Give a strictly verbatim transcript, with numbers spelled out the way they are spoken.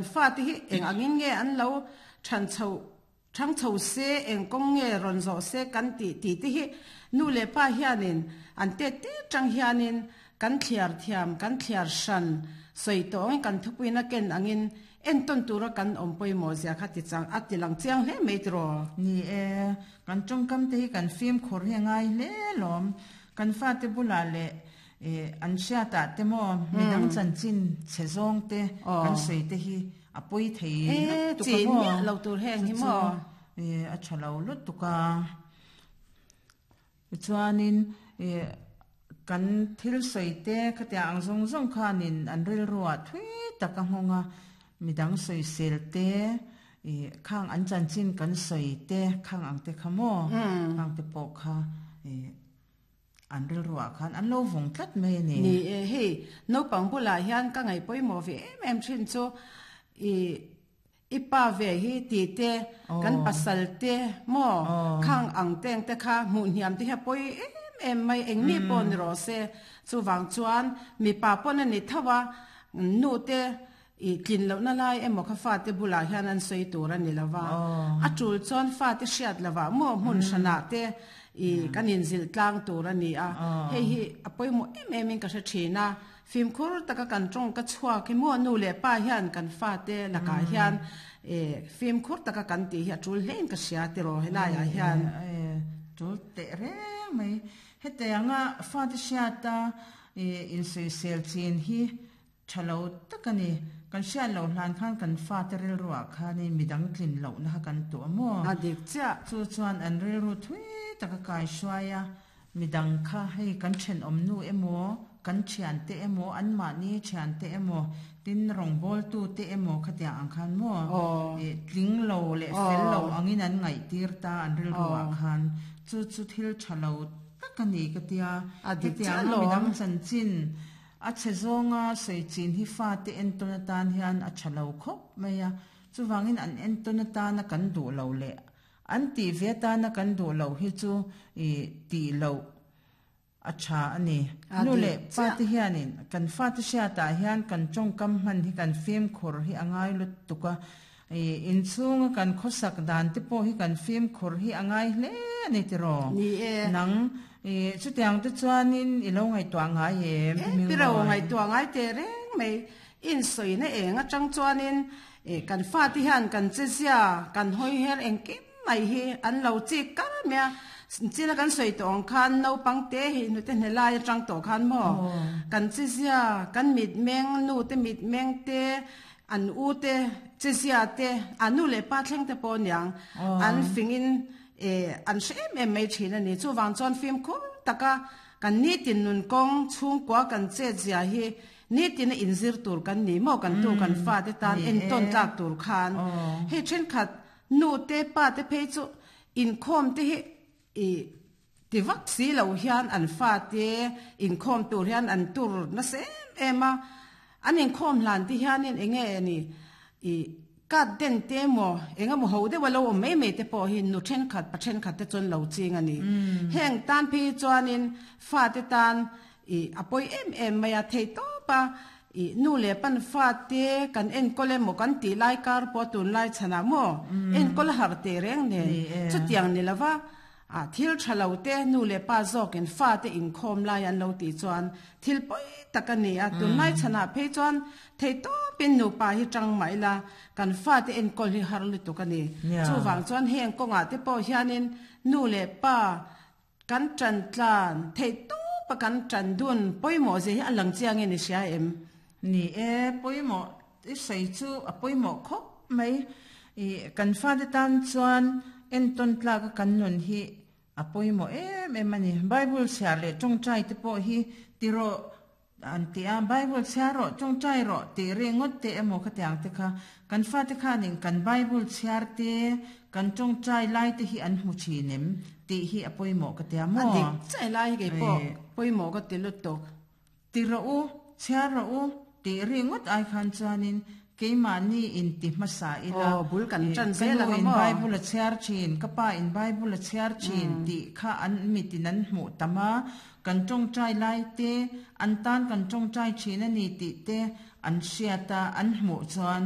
Fate hi eng angin nge an lo than chho thang chho se, eng kawng nge rawn zawh se kan tih tih te hi nu leh pa hianin an tet te tang hianin kan thliar thiam, kan thliar hran sawi tawh angin kan thupuina ken angin entawn tura kan awm pawimawh zia kha ti chang a ti lang chiang hle mai tiraw. Ni e, kan tawngkam te hi kan fimkhur hi a ngai hle lawm. Kan fate bulah leh an hriatah te maw midang chanchin chhe zawng te kan sawi te hi a pawi thei lutuk a maw. Chin lo tur heng hi maw. A tha lo lutuk a. Chuanin kan thil sawi te khatiang ang zawng zawng khanin an rilruah thui tak a nghawng a, midang sawi sel te khang an chanchin kan sawi te khang ang te kha maw khang te pawh kha an rilruah khan an lo vawng tlat mai a ni. Ni e, hei naupang bulah hian ka ngaih pawimawh ve em em thin chu i i pa ve hi ti te kan pasal te maw khang ang teng te kha hmuh hniam te hi a pawi em em mai, eng mi pawh ni rawh se. Chuvang chuan mipa pawn a ni tho a, nu te i tlin lohna lai emaw kha fate bulah hian an sawi tur a ni lova, a tul chuan fate hriat lovah maw hmun hranah te i kan inzilh tlang tur a ni a. Hei hi a pawimawh em em in ka hre thin a, fimkhur taka kan tawng ka chhuak hi maw nu leh pa hian kan fate lakah hian e fimkhur taka kan tih hi a tul hle in ka hria tiraw helaiah hian. Tul teh reng mai. Hetianga fate hriata insawisel chin hi tha lo tak a ni. Kan hriat loh hlan khan kan fate rilruah khanin midang tlin lohna kha kan tuah maw. A dik chiah. Chu chuan an rilru thui taka kai hruai a, midang kha hei kan thenawm nu emaw kan thian te emaw an mahni thian te emaw tin rawngbawltu te emaw khatiang ang khan maw tling lo leh fel lo angin an ngaih tir ta an rilruah khan. Chu chu thil tha lo tak a ni ka tia. Hetianga midang chanchin a chhe zawnga sawi chin hi fate entawn atan hian a tha lo khawp mai a. Chuvangin an entawn atana kan duh lo leh an tih ve atana kan duh lo hi chu i tih loh a tha a ni. Nu leh pa te hianin kan fate hriatah hian kan tawngkam hman hi kan fimkhur hi a ngai lutuk a. Inchhunga kan khawsak dan te pawh hi kan fimkhur hi a ngai hle a ni tiraw. Ni e. Nang chutiang te chuanin i lo ngaihtuah ngai em? Piro ngaihtuah ngai te reng mai. In sawina eng atang chuanin kan fate hian kan che zia kan hawi her engkim mai hi an lo chik kar mai a. China kan sawi tawh ang khan naupang te hi nu te hnelai atang tawh khan maw kan che zia kan mit meng nu te mit meng te an u te che zia te an nu leh pa thleng te pawh niang an fingin an hre em em mai thin a ni. Chuvang chuan fimkhur taka kan ni tin nun kawng chhungkua kan chet zia hi ni tin a inzir tur kan ni maw kan tu kan fa te tan entawn tlak tur khan. Hei thenkhat nu te pa te phei chu inkhawm te hi i tivak si lo hian an fa te inkhawm tur hian an tur nasa em em a. An inkhawm hlan te hianin enge ni i kat den te maw enga maw ho deuh a lo awm mai mai te pawh hi nu thenkhat pa thenkhat te chuan lo ching a ni. Heng tan phei chuanin fa te tan i a pawi em em mai a thei tawp a. I nu leh pan fa te kan enkawl emaw kan tih lai kar pawh tun lai chhanah maw enkawl a harh teh reng nen chutiang ni lova a thil tha lo te nu leh pa zawkin fa te inkhawm lai an lo tih chuan thil pawi tak a ni a. Tun lai chhanah phei chuan thei tawpin nupa hi tang mai la kan fa te enkawl hi har lutuk a ni. Chuvang chuan heng kawngah te pawh hianin nu leh pa kan tan tlan thei tawpa kan tan dun pawimawh zia hi a lang chiangin i hria em? Ni e, pawimawh i sawi chu a pawimawh khawp mai. I kan fa te tan chuan entawn tlaka kan nun hi a pawimawh em em a ni. Bible chhiar leh tawngtai te pawh hi tiraw an ti a, Bible chhiar rawh tawngtai rawh tih ringawt te emaw khatiang te kha kan fa te khanin kan Bible chhiar te kan tawngtai lai te hi an hmu thin em tih hi a pawimawh ka tia maw. A dik chai lai hi kei pawh pawimawh ka ti lutuk. Tiraw u chhiar rawh u tih ringawt ai khan chuanin keimahni in ti hmasa ila bul kan tan zel ang maw. Bible a chhiar thin, ka pa in Bible a chhiar thin tih kha an mitin an hmuh tam a, kan tawngtai lai te an tan kan tawngtai thin a ni tih te an hriata an hmuh chuan